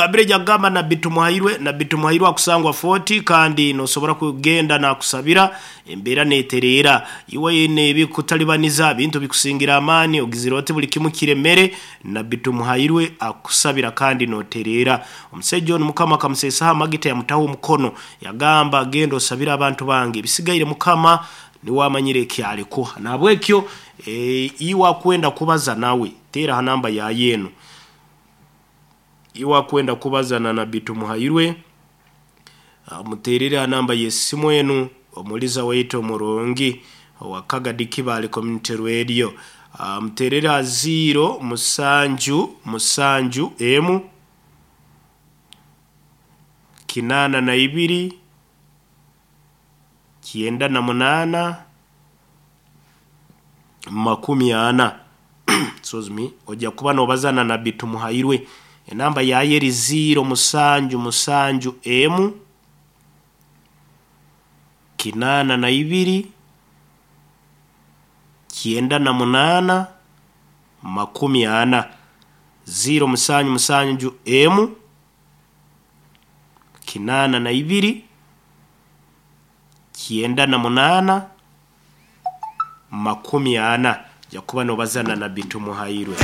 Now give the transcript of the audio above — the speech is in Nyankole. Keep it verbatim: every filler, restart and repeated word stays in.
Nakugambire jagamba Nabbi Tumuhairwe. Nabbi Tumuhairwe akusangwa Fort, kandi nosobora kugenda nakusabira embeera netereera. Iwe nebikutalibaniza, bintu bikusingira amaani, ogizire oti buli kimu kiremere, Nabbi Tumuhairwe akusabira kandi notereera. Omusajja ono Mukama akamuseesaho amagita, yamutaho omukono, yagamba, "Genda osabire abantu bange, ebisigaire Mukama niwe amanyire ekyalikuha." Nahabwekyo e, iwe akwenda kubaza nawe, teera ha namba yaye eno. Iwe akwenda kubaza na Nabbi Tumuhairwe, muterere ha namba y'essimu enu. Omuliza waitu omurungi owa Kagadi Kibaale Community Radio, muterere ha ziro musanju musanju emu kinaana na ibiri kyenda na munaana makumi ana. Excuse me. Ojja kuba nobaza na Nabbi Tumuhairwe. Enamba yaye eri ziro musanju musanju emu kinaana na ibiri kyenda na munaana makumi ana, ziro musanju musanju emu kinaana na ibiri kyenda na munaana makumi ana. Ojja kuba nobazana na Nabbi Tumuhairwe.